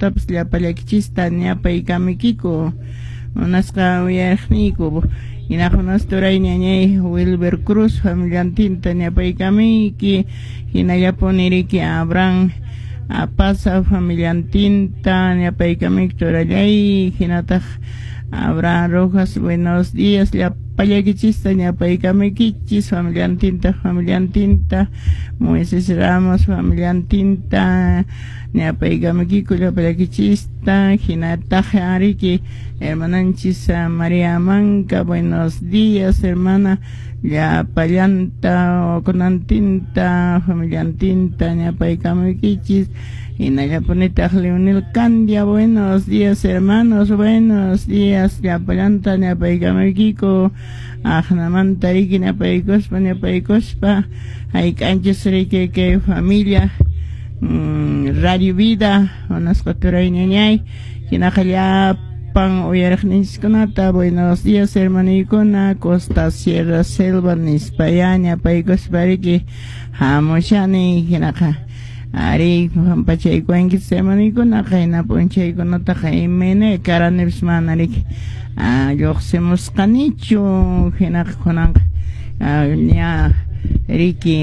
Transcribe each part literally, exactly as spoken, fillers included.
Qankunatapas llapallakichista ñapaykamuykiku munasqa uyariqniyku. Hinaqa turay ñañay Wilber Cruz familiantinta ñapaykamuyki, hinallapuni riki Abraham Apaza familiantinta ñapaykamuyki turallay, hinataq Abraham Rojas, buenos días, llapallakichista ñapaykamuykichis familiantinta familiantinta, Moisés Ramos familiantinta ñapaykamuykiku llapallakichista, hinataq riki hermananchis María Manca, buenos días hermana, llapallanta kunantinta familiantinta ñapaykamuykichis. Hinallapunitaq Leonel Candia, buenos días hermanos, buenos días, llapallanta ñapaykamuykiku, aqnamanta riki ñapaykuspa ñapaykuspa hayk'anchis riki kay familia mm, Radio Vida, munasqa turay ñañay, hinaqa llapan uyariqninchiskunata, buenos días hermaniykuna, Costa Sierra Selva nispaya ñapaykuspa riki hamushani, hinaqa ari pampachaykuwankichis hermaniykuna, qayna p'unchaykunataqa imayna karanipis mana riki lluqsimusqanichu, hinaqa kunanqa ña riki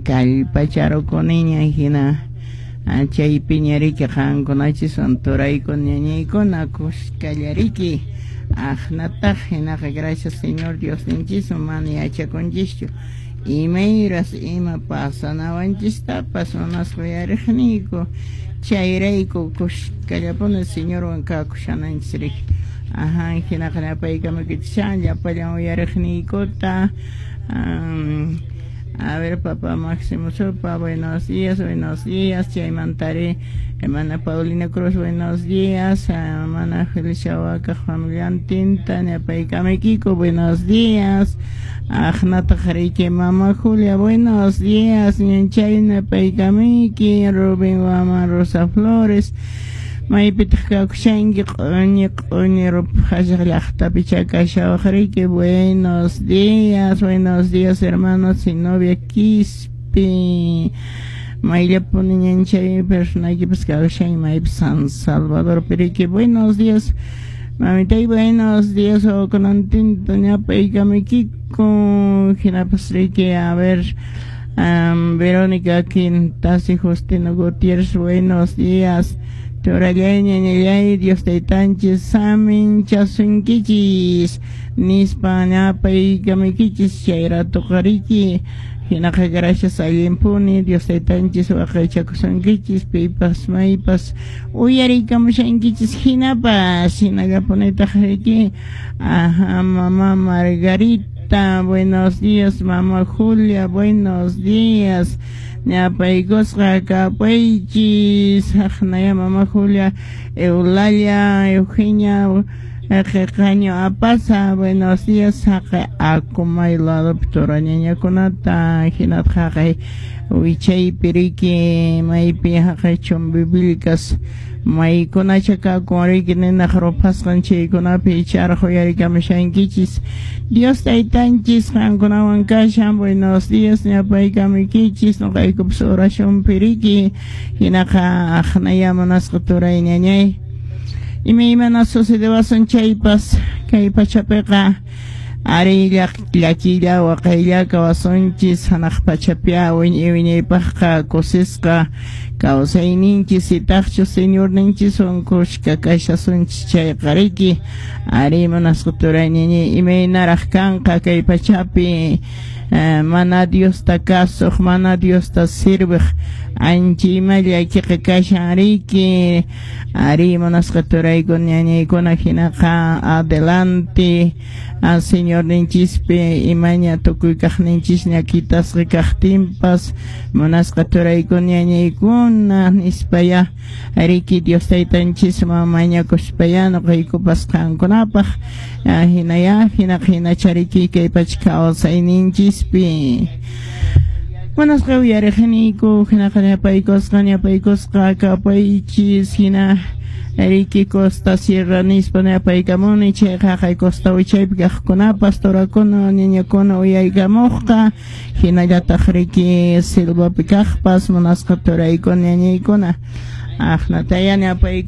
kallpacharukuniña, hina chaypiña riki qankunachiswan turaykuna ñañaykuna kuskalla riki aqnataq, hinaqa gracias Señor Diosninchiswan mana yachakunchischu imayras ima pasanawanchistapas munasqa uyariqniyku, chayrayku kuskallapuni Señorwan kakushananchis riki. Ajá, hinaqa ñapaykamuykichis llapallan uyariqniykuta. Um, a ver, papá Máximo Sopa, buenos días, buenos días. Chaymantari, hermana Paulina Cruz, buenos días. Hermana Felicia Waka, familiantinta, ñapaykamuykiku, buenos días. Aqnataq riki mama Julia, buenos días. Ñanchay ñapaykamuyki, Rubén Wama Rosa Flores. Maypitaq kakushanki q'uñi q'uñi ruphashaq llaqtapi chakashawaq riki, buenos días, buenos días hermanos Zenobia Quispe, mayllapuni ñanchay personaykipas kakushanki maypi San Salvador riki, buenos días mamitay, buenos días kunantinta ñapaykamuykiku, hinapas riki, a ver, um, Verónica Quintas y Justino Gutiérrez, buenos días. Turallay ñañallay Dios taytanchis saminchasunkichis nispa ñapaykamuykichis chayratuqa riki, hinaqa gracias allinpuni Dios taytanchis waqaychakusunkichis pipas maypas uyariykamushankichis hinapas hinallapunitaq riki. Ajá, mamá Margarita, buenos días, mamá Julia, buenos días. Ñapaykusqa kapaychis aqnaya mama Julia, Eulalia, Eugenia, Qeqaño Apaza, buenos días, haqay akumay ladopi turañañakunata, hinataq haqay wichaypi riki maypi haqay Chumbivilcas maykunacha kakun riki ninaq ruphasqan chaykunapi icharaq uyarikamushankichis. Dios taytanchis qankunawan kashan, buenos días ñapaykamuykichis nuqaykupas oracionpi riki, hinaqa aqnaya munasqa turay ñañay imaymana sucedewasun chaypas kay pachapiqa ari llakilla waqaylla kawasunchis hanaq pachapi wiñay wiñaypaqqa kusisqa kawsayninchis itaqchu Señorninchiswan kushka kashasunchis chayqa riki ari munasqa turay ñañay imaynaraq kanqa kay pachapi mana Diosta kasuq mana Diosta sirviq ancha ima llakiqa kashan riki ari munasqa turaykuna ñañaykuna hinaqa adelante Señorninchispi imaña tukuy kaqninchisña kitasqa kaqtinpas munasqa turaykuna ñañaykuna nispaya riki Dios taytanchisman mañakuspaya nuqaykupas qankunapaq hinaya hinaqa hinachariki kay pacha kawsayninchispi. Munasqa uyariqniyku hinaqa ñapaykusqa ñapaykusqa kapaychis hina riki Costa Sierra nispa ñapaykamuni chayqa haqay costa wichaypi kaqkunapas turakuna ñañakuna uyaykamuqqa hinallataq riki selvapi kaqpas munasqa turaykuna ñañaykuna aqnataya ñapayku.